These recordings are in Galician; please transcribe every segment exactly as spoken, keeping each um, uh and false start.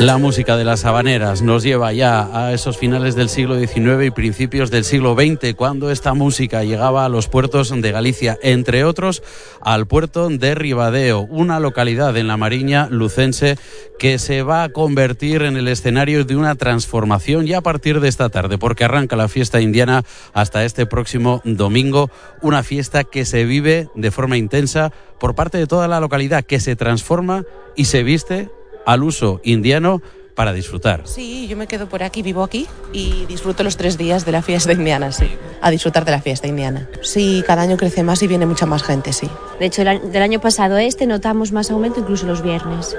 La música de las habaneras nos lleva ya a esos finales del siglo diecinueve y principios del siglo veinte, cuando esta música llegaba a los puertos de Galicia, entre otros al puerto de Ribadeo, una localidad en la Mariña lucense que se va a convertir en el escenario de una transformación ya a partir de esta tarde, porque arranca la fiesta indiana hasta este próximo domingo, una fiesta que se vive de forma intensa por parte de toda la localidad, que se transforma y se viste al uso indiano para disfrutar. Sí, yo me quedo por aquí, vivo aquí y disfruto los tres días de la fiesta indiana, sí. A disfrutar de la fiesta indiana. Sí, cada año crece más y viene mucha más gente, sí. De hecho, del año pasado a este notamos más aumento incluso los viernes.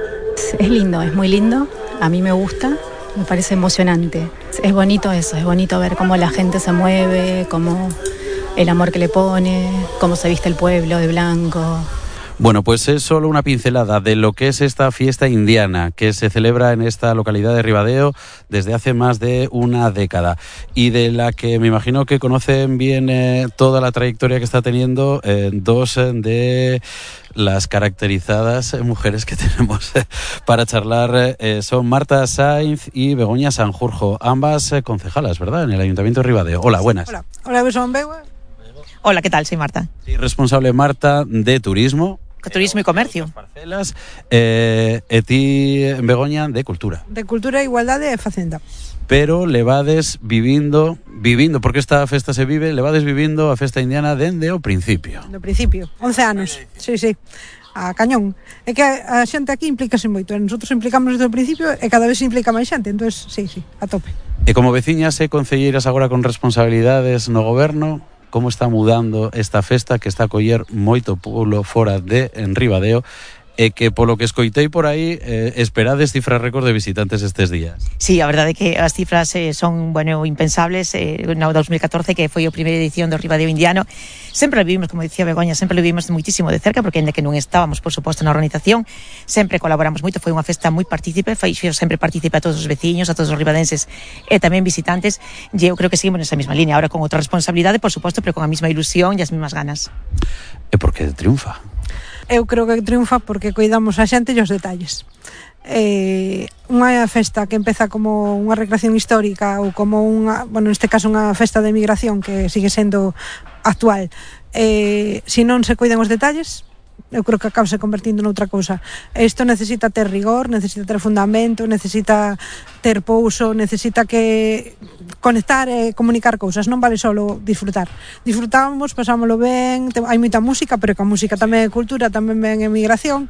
Es lindo, es muy lindo. A mí me gusta, me parece emocionante. Es bonito eso, es bonito ver cómo la gente se mueve, cómo el amor que le pone, cómo se viste el pueblo de blanco. Bueno, pues es solo una pincelada de lo que es esta fiesta indiana que se celebra en esta localidad de Ribadeo desde hace más de una década y de la que me imagino que conocen bien eh, toda la trayectoria que está teniendo eh, dos eh, de las caracterizadas eh, mujeres que tenemos eh, para charlar. Eh, son Marta Sainz y Begoña Sanjurjo, ambas eh, concejalas, ¿verdad?, en el Ayuntamiento de Ribadeo. Hola, buenas. Hola, Hola, son Begua. Hola, ¿qué tal? Soy Marta. Sí, responsable, Marta, de turismo. Turismo y comercio. Parcelas, eh, e ti, Begoña, de cultura. De cultura, igualdade e facenda. Pero levades vivindo, vivindo, porque esta festa se vive, levades vivindo a festa indiana dende o principio. Do principio, once anos, sí, sí, a cañón. É que a xente aquí implícase moito, e nosotros implicamos desde o principio e cada vez se implica máis xente, entón, sí, sí, a tope. E como veciñas e concelleiras agora con responsabilidades no goberno, como está mudando esta festa que está a coller moito pulo fora de en Ribadeo e que polo que escoitei por aí eh, esperades cifras récord de visitantes estes días? Sí, a verdade é que as cifras eh, son, bueno, impensables. Eh, no dos mil catorce, que foi a primeira edición do Ribadeo Indiano, sempre lo vivimos, como dicía Begoña, sempre lo vivimos muitísimo de cerca, porque ainda que non estábamos, por suposto, na organización, sempre colaboramos moito. Foi unha festa moi partícipe, foi sempre partícipe a todos os veciños, a todos os ribadenses e tamén visitantes, e eu creo que seguimos nesa mesma línea, ahora con outra responsabilidade, por suposto, pero con a mesma ilusión e as mesmas ganas. E por que triunfa? Eu creo que triunfa porque cuidamos a xente e os detalles. Eh, unha festa que empeza como unha recreación histórica ou como unha, bueno, neste caso unha festa de migración que sigue sendo actual, eh, se non se cuidan os detalles, eu creo que acaba se convertindo noutra cousa. Isto necesita ter rigor, necesita ter fundamento, necesita ter pouso, necesita que conectar e comunicar cousas, non vale solo disfrutar. Disfrutamos, pasámoslo ben, hai moita música, pero que a música tamén é cultura, tamén ven emigración,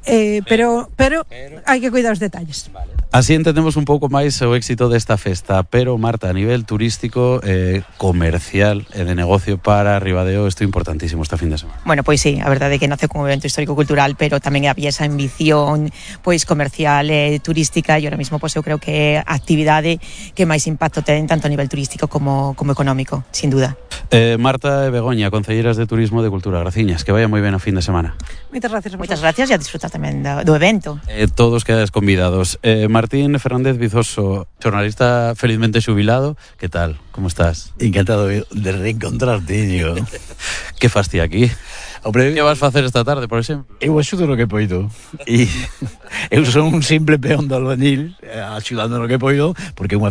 eh, pero, pero, pero hai que cuidar os detalles. Vale. Así entendemos un pouco máis o éxito desta festa, pero Marta, a nivel turístico, eh, comercial e de negocio para Ribadeo, isto é importantísimo esta fin de semana. Bueno, pois sí, a verdade é que nace como evento histórico-cultural, pero tamén había esa ambición pois comercial e turística, e ahora mismo pois eu creo que é a actividade que máis impacto ten tanto a nivel turístico como, como económico, sin duda. Eh, Marta e Begoña, concelleiras de Turismo e de Cultura, graciñas, que vaya moi ben o fin de semana. Moitas gracias. Moitas gracias e a disfrutar tamén do, do evento. Eh, todos quedades convidados. Eh, Martín Fernández Vizoso, xornalista felizmente xubilado, que tal? Como estás? Encantado de reencontrarte, Íñigo. Que fas ti aquí? Hombre, que vas facer esta tarde, por exemplo? Eu axudo no que poido. E eu son un simple peón do albañil, axudando no que poido, porque é unha